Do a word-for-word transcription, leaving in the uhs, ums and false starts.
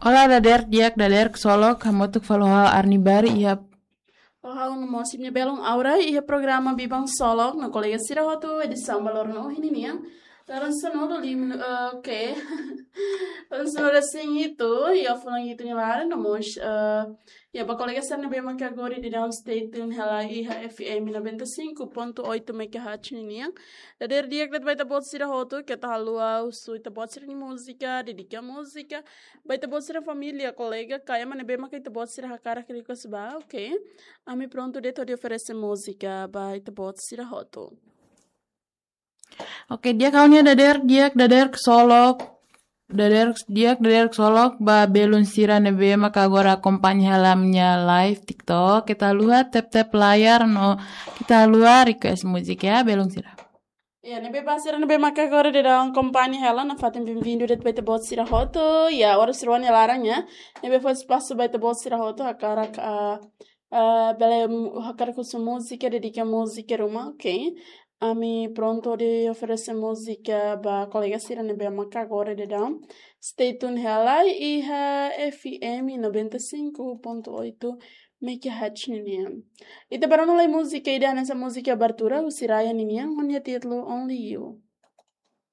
Olá, dadeer di'ak, dadeer ksolok, hamutuk fali ho ha'u Arni Bari, iha. Ho ha'u no mós imi-nia belun Aura, iha programa Biban Ksolok, no kolega sira hotu, edisaun ba loron ohin ninian. Loron sanulu lima, eh, oke. Loron sanulu-resin-hitu, iha fulan hitu nia laran, no mós, eh, iha ba kolega sira ne'ebé maka agora daudaun stay tune hela iha F M noventa e cinco ponto oito megahertz ninian. Dadeer di'ak de'it ba ita-boot sira hotu, keta haluha husu ita-boot sira-nia múzika, dedika múzika ba ita-boot sira família, kolega, ka ema ne'ebé maka ita-boot sira hakarak request ba, oke. Ami prontu de'it hodi oferese múzika ba ita-boot sira hotu. Oke, di'ak, ha'u-nia dadeer di'ak, dadeer ksolok. Dadeer di'ak, dadeer ksolok ba belun sira ne'ebé maka agora akompaña hela ami-nia live TikTok. Keta haluha tap-tap layar no keta haluha request múzika ya, belun sira. Ya, ne'ebé ba sira ne'ebé maka agora daudaun akompaña hela, nafatin bem-vindo de'it ba ita-boot sira hotu. Ya, oras rua nia laran ya. Ne'ebé fó espasu ba ita-boot sira hotu hakarak, ah, ah, bele mu-, hakarak husu múzika, dedika múzika ruma, oke. Ami prontu hodi oferese múzika ba kolega sira ne'ebé maka agora daudaun stay tune hela iha F M noventa e cinco ponto oito megahertz ninian. Ita bá rona lai múzika ida hanesan múzika abertura husi Raya ninian, ho nia títulu Only You.